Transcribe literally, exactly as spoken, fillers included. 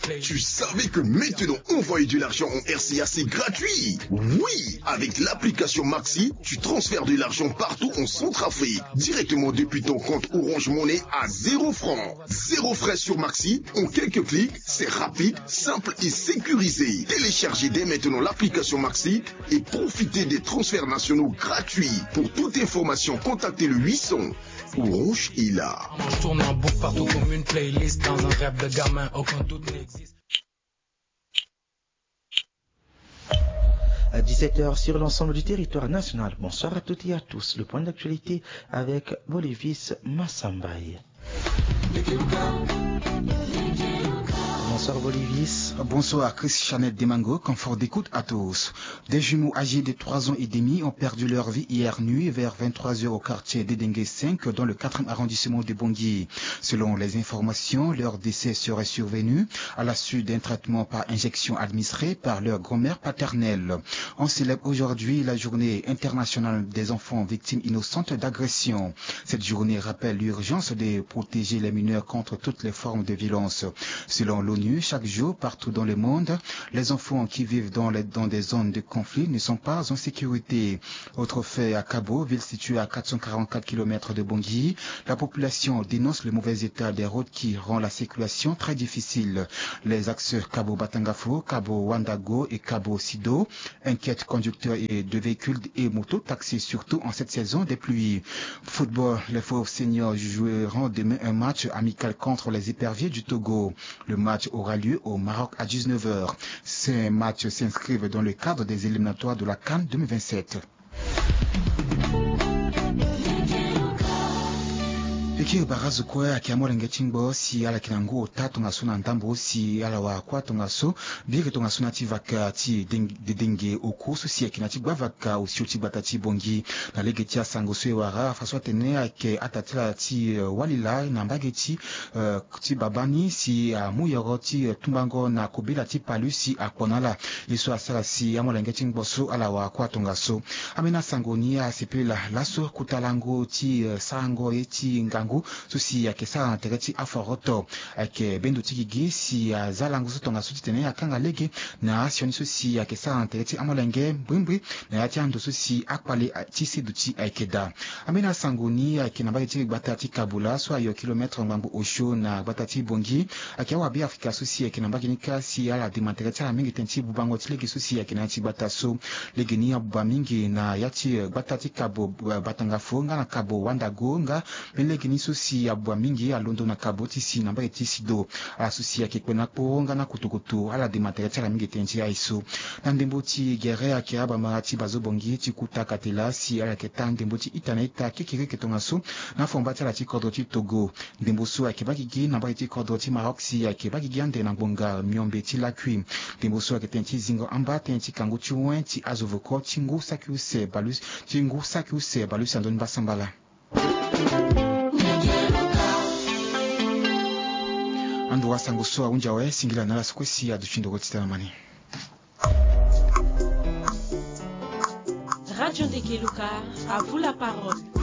Tu savais que maintenant envoyer de l'argent en R C A c'est gratuit ? Oui, avec l'application Maxi, tu transfères de l'argent partout en Centrafrique, directement depuis ton compte Orange Money à zéro franc. Zéro frais sur Maxi, en quelques clics, c'est rapide, simple et sécurisé. Téléchargez dès maintenant l'application Maxi et profitez des transferts nationaux gratuits. Pour toute information, contactez le huit cents. Orange est là. Je tourne en boucle partout comme une playlist dans un rêve de gamin, aucun doute n'existe. À dix-sept heures sur l'ensemble du territoire national. Bonsoir à toutes et à tous. Le point d'actualité avec Bolivis Massambaye. Bonsoir Bolivis. Bonsoir Chris Chanel Demango, confort d'écoute à tous. Des jumeaux âgés de trois ans et demi ont perdu leur vie hier nuit vers vingt-trois heures au quartier Dedenge cinq dans le quatrième arrondissement de Bangui. Selon les informations, leur décès serait survenu à la suite d'un traitement par injection administré par leur grand-mère paternelle. On célèbre aujourd'hui la journée internationale des enfants victimes innocentes d'agression. Cette journée rappelle l'urgence de protéger les mineurs contre toutes les formes de violence. Selon l'ONU, chaque jour, partout dans le monde, les enfants qui vivent dans les, dans des zones de conflit ne sont pas en sécurité. Autre fait à Kabo, ville située à quatre cent quarante-quatre kilomètres de Bangui, la population dénonce le mauvais état des routes qui rend la circulation très difficile. Les axes Kabo Batangafo, Kabo Wandago et Kabo Sido inquiètent conducteurs et de véhicules et motos taxis, surtout en cette saison des pluies. Football, les Fauves Seniors joueront demain un match amical contre les Éperviers du Togo. Le match aura lieu au Maroc à dix-neuf heures. Ces matchs s'inscrivent dans le cadre des éliminatoires de la CAN deux mille vingt-sept. E kiri barazo kue ayeke amolenge ti ngbo si ala yeke na ngu ota tongaso na ndambo si ala wara kuâ tongaso. Biri tongaso na ya ti vaka ti deng-, dedenge oko so si ayeke na ya ti gbavaka osio ti gbata ti Bangui. Na lege ti asango so e wara afa so atene ayeke ata ti ala ti, eh, wali laa na mbage ti, eh, ti babani si amu yoro ti, eh, tumbango na kobela ti palu si akpo na ala. Ye so asara si amolenge ti ngbo so ala wara kuâ tongaso. Ambeni asango ni asepela laso kota lango ti, eh, sarango ye ti ngangu so si ayeke sara na tere ti aforoto. Ayeke bendo ti gigi si aza lango so tongaso titene akanga lege na asioni so si ayeke sara na tere ti amolenge mbrimbri na ya ti ando so si akpale, ah, ti seduti ayeke daa. Ambeni asango ni ayeke na mbage ti gbata ti Kabula so ayo kilomètre ngbangbo osio na gbata ti Bangui. Ayeke awabe Afrika so si ayeke na mbage ni kâ si ala dema tere ti ala mingi tënë ti bubango ti lege so si ayeke na ya ti gbata so. Lege ni abuba mingi na ya ti, eh, gbata ti Kabo, eh, Batangafo nga na Kabo Wandago nga. Mbeni lege ni so si abuba mingi alondo na Kabo ti si na mbage ti Sido. Ala so si ayeke kpe na kporo nga na kutukutu ala dema tere ti ala mingi tënë ti aye so. Na ndembo ti gere ayeke abamara ti Bazo Bangui ti kuta katela si ala yeke taa ndembo ti ita na ita kekereke tongaso na fomba ti ala ti kodro ti Togo. Ndembo so ayeke baa gigi na mbage ti kodro ti Maroc si ayeke baa gigi ande na ngbonga miombe ti lakui. Ndembo so ayeke tënë ti zingo amba tënë ti kangu ti wen ti azo voko ti ngu saki use balu, ti ngu saki use balu si anzoni mbasambala. Anduru asango so ahunzi awe, singila na ala so kue si aduti ndoro ti tene na mani. Radio Ndegeluka, à vous la parole.